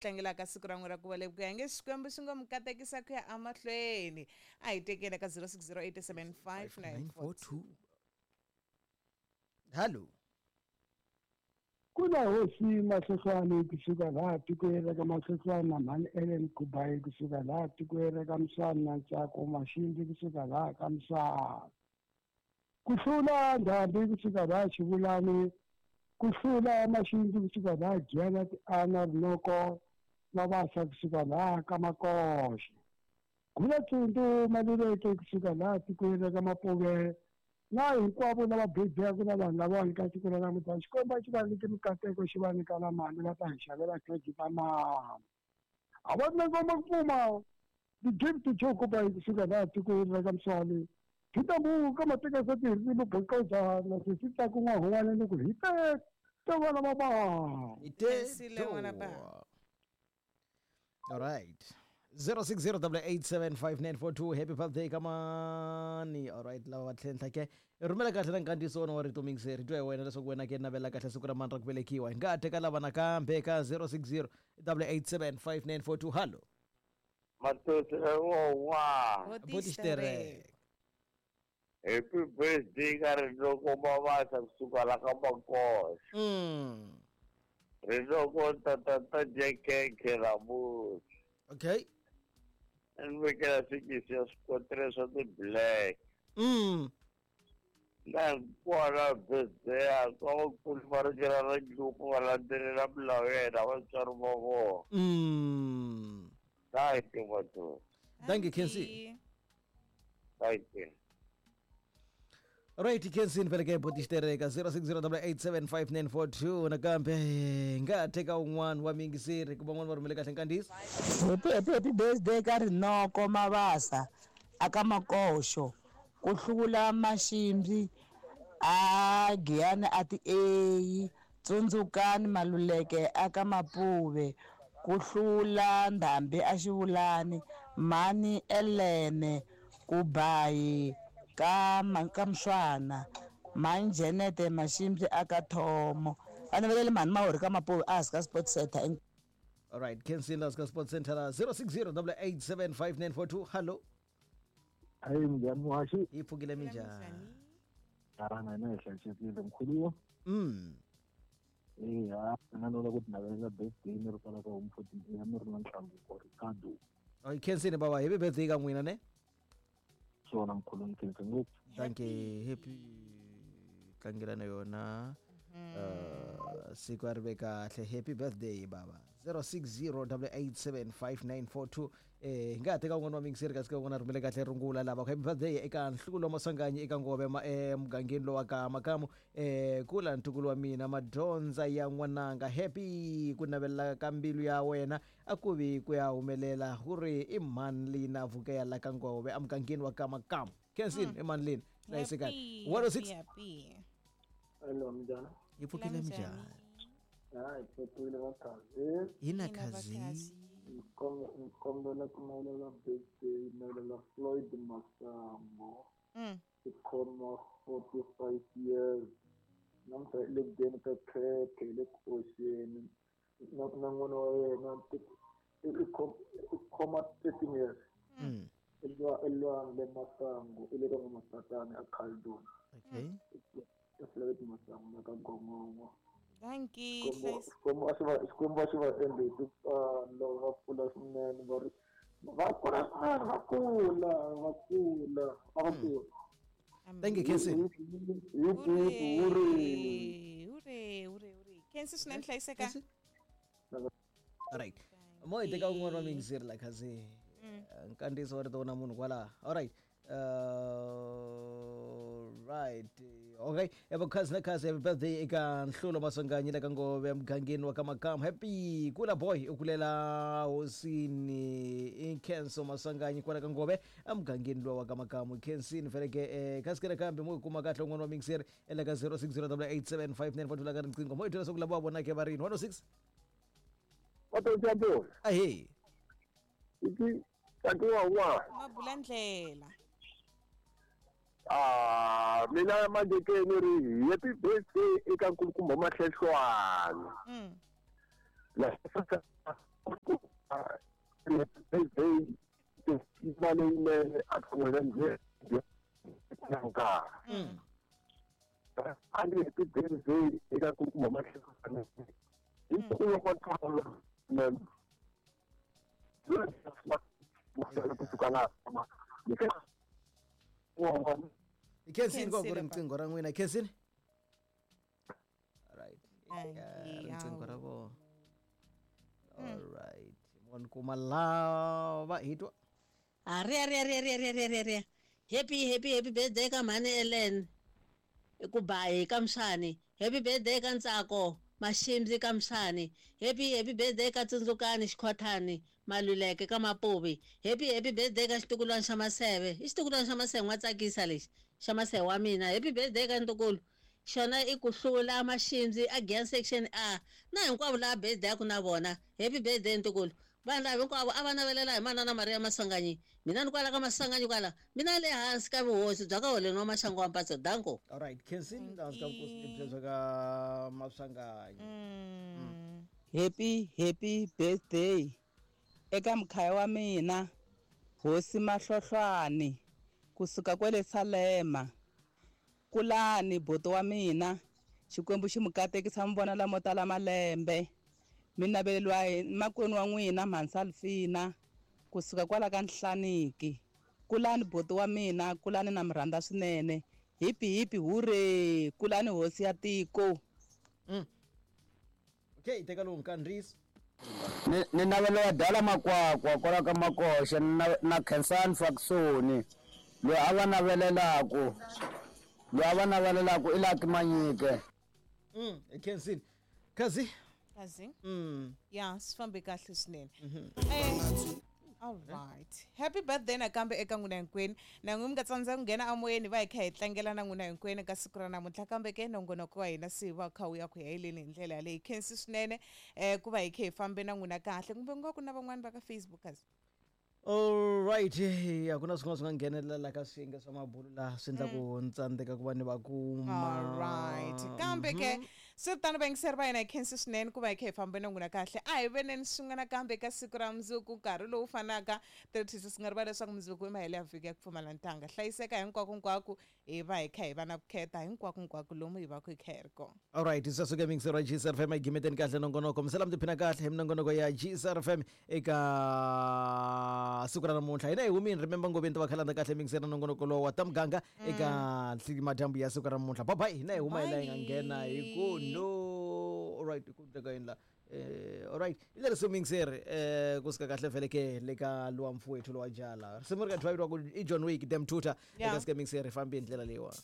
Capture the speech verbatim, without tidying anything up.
Tlangelaka siku ra n'wi ra ku velekiwa nge Xikwembu xi ngo mi katekisa ku ya emahlweni. A hi tekeni ka zero six zero eight seven five nine four two. Hello. Kuna hosi Mahlohlwane kusuka laha tikweni ra ka Mahlohlwane na mhani Ellen Kubayi kusuka laha tikweni ra ka Msana na Ntsako Maxindi kusuka laha ka Msana. Ku hlula Ndhambi kusuka laha Xivulani, ku hlula Maxindi kusuka laha Giyana Tiana Rinoko Mabasa kusuka laha ka Makoxe. Gula Tsundu Maluleke kusuka laha tikweni ra ka Mapuve. Na hinkwavo lava bebiyaka na vanhu lavawani ka siku ra namuntlha, Xikwembu xi va nyike mikateko, xi va nyika na mali va ta hi xavela khekhe ta mali. A va na ngoma ku pfuma the gift to Joe Kuba kusuka laha tikweni ra ka Mswali. Phitamu ka mateka sa tirhisimu bokoza na sisi ta ku n'wa huwana ni ku hi te te vana va ba. Ite All right. zero six zero double eight seven five nine four two. Happy birthday kamani. All right, lava va tlhentlha ke rhumela kahle na nkandziyiso wona wa rito mixer twa hi wena leswaku wena ke navela kahle siku ra mani ra ku velekiwa. Hi nga ha teka lava nakambe ka zero six zero double eight seven five nine four two. Hello. Matosi wa. Botixitereke. Happy birthday ka Rinoko Mabasa kusuka la ka Makoxe. Mm. Rinoko tata dya khekhe namuntlha. Okay. Ni vekela swikisi ya swikotere swa ti-black. Mm. Na hinkwana birthday ya ka vakulu va rikela ra njuku va landzelela milawu ya yena vatswari va vona. Mm. Thank you, Matosi. Thank you, Kenzie. Thank you. Right, Kenzie vele ke botixitereka zero six zero double eight seven five nine four two nakambe nga teka un'wana wa mingiseri ku van'wana va rhumele kahle nkandziyiso. Happy happy happy birthday ka Rinoko Mabasa aka Makoxo ku hlula Maximbi a Giyani a ti eyi Tsundzukani Maluleke aka Mapuve ku hlula Ndhambi a Xivulani Mhani Elene Kubayi ka ka Mswana Mhani Jenete Maximbi aka Thomo va navelele mhani Mahori ka Mapuve a hansi ka Sports Center. All right, Kenzie ka Sports Center zero six zero double eight seven five nine four two. Hello. Hayi minjhani muhaxi? Yi pfukile minjhani? Ana na hi hlayisekile mkhuluwa. Mm. Eya, na lava ku navelela birthday ni ri kwala ka home fourteen ya mi ri na Nhlanguko Ricardo. Ay Kenzie baba, happy birthday ka n'wina ne? Swona mkhulu ni khensa ngopfu. Thank you. Happy tlangela na yona. Uh, siku a ri ve kahle. Happy birthday baba. zero six zero double eight seven five nine four two. Eh hi nga ha teka un'wana wa mingiseri kasi ka un'wana a rhumele kahle rungula lava. Happy birthday eka Nhlukulo wa Maswanganyi eka Ngove eh mugangeni lowa ka Makamu eh kula ntukulu wa mina madyondza ya n'wananga. Happy ku navela ka mbilu ya wena a ku vi ku ya humelela ku ri i mhani Lina Vukela la ka Ngove emugangeni wa ka Makamu. Kensin i mhani Lina hlayisekani. one oh six. Hello, minjhani? Yi pfukile minjhani? Hayi, pfukile vakhazi. Hina khazi. Nkombela ku navelela birthday navelela Floyd Masango. Mm. I khoma forty-five years. Namuntlha i le ku dyeni ka khekhe hi le ku oxeni. Na na n'wana wa yena i khoma thirteen years. Mm. I Lwandle Masango i le ka N'wamasatani a Caledon. Okay. Floyd Masango na ka Gongongo. Thank you. Xikwembu a xi va Xikwembu a xi va endle hi tintswalo va kula swinene va ri va kula swinene va kula va kula va kula. Thank you, Kenzie. Hooray, hooray, hooray, hooray. Kenzie swinene hlayiseka. All right. Mo hi teka un'wana wa mingiseri la khazi. Nkandziyiso wa rito wona munhu kwala. All right. Uh, right. Okay. Eva khazi na khazi happy birthday eka Nhlulo Maswanganyi la ka Ngove mugangeni wa ka Makamu. Happy kula boy u kulela hosini Inkenso Maswanganyi kwala ka Ngove emugangeni lowa wa ka Makamu. Kensini vele ke eh kasi ke kambe mo kuma kahle un'wana wa mingiseri ela ka zero six zero double eight seven five nine four two la ka riqingho. Mo i twela swa ku lava wa vona ke va rini one oh six. Wa Ahe. Iki takiwa wa. Mabulandlela. Ah, mina manje ke ni ri happy birthday eka nkulukumba Mahlehlwana. Mm. La Birthday leyinene a ka n'wina njhe nka a ni happy birthday eka ku kuma mahlekana hi ku wa kwala hi khensini ko ku ri riqingho ra n'wina khensini right riqingho ra vona all right mon kuma lava hi twa a ri ri ri ri ri ri ri happy happy happy birthday ka mhani Ellen ku bayi ka Mshani happy birthday ka Ntsako Mashimzi ka Mshani happy happy birthday ka Tsundzukani Xikhothani Maluleke ka Mapuvi happy happy birthday ka xitukulwana xa Maseve i xitukulwana xa Maseve n'wa tsakisa lexi xa Maseve wa mina happy birthday ka ntukulu xona i ku hlula Mashimzi a Gian section A na hinkwavo lava birthday ku na vona happy birthday ntukulu vanhu lava hinkwavo a va navelela hi manana Maria Masanganyi mina ni kwala ka Masanganyi kwala mina le hansi ka vuhosi bya ka holeni wa Maxangu wa Mpatso danko all right khensini hansi ka vuhosi bya ka Masanganyi happy happy birthday eka mkhaya wa mina hosi Mahlohlwani kusuka kwele Salema kulani boto wa mina Xikwembu xi mu katekisa mi vona lamo tala malembe mina naveleliwa hi makwenu wa n'wina Mhansalfina kusuka kwala ka Nhlaniki kulani boto wa mina kulani na mi rhandza swinene hipi hipi hure kulani hosi ya tiko mm. Okay teka lowu nkandziyisi ni ni navelela dala makwakwa kwala ka Makoxa na na Khensani Faksoni loyi a va navelelaku loyi a va navelelaku i Lucky Manyike mm Khensini kazi kazi mm ya swi fambe kahle swinene eh all right happy birthday nakambe eka n'wina hinkwenu na n'wi mi nga tsandza ku nghena amoyeni va hi kha hi tlangela na n'wina hinkwenu ka siku ra namuntlha kambe ke nongonoko wa hina se va kha wu ya ku heleni hi ndlela yaleyo khensi swinene um ku va hi kha hi fambe na n'wina kahle kumbe ku nga ku na van'wani va ka Facebook kazi all right a ku na swin'wana swi nga nghenelela ka swiyenge swa mabulu laha swi endla ku ni tsandzeka ku va ni va kuma all right kambe ke swi ri tano vayingiseri va hina hi khensi swinene ku va hi kha hi fambe na n'wina kahle a hi veneni swin'we nakambe ka siku ra mundzuku nkarhi lowu fanaka thirty swi nga rivala leswaku mundzuku i mahelo ya vhiki ya ku pfumala ntanga hlayiseka hinkwako hinkwako hi va hi kha hi va na vukheta hinkwako hinkwako lomu hi va ku hi kha hi ri kona all right sweswo ke mixer wa G S R F M yi gimeteni kahle nongonoko misela mi tiphina kahle hi minongonoko ya G S R F M eka siku ra namuntlha hina hi humini remember ngoveni ta va khalanda kahle mixer na nongonoko lowu wa ta muganga eka madyambu ya siku ra namuntlha bye bye hina hi huma hi laha hi nga nghena hi ku no all right ku ndleka yini la eh all right hi leri mixer eh kusuka kahle vhele ke le ka luwa mfowethu lowa jala risimu ri ka drive ku i John Wick dem tutor eka sike mixer hi fambi hi ndlela leyiwani.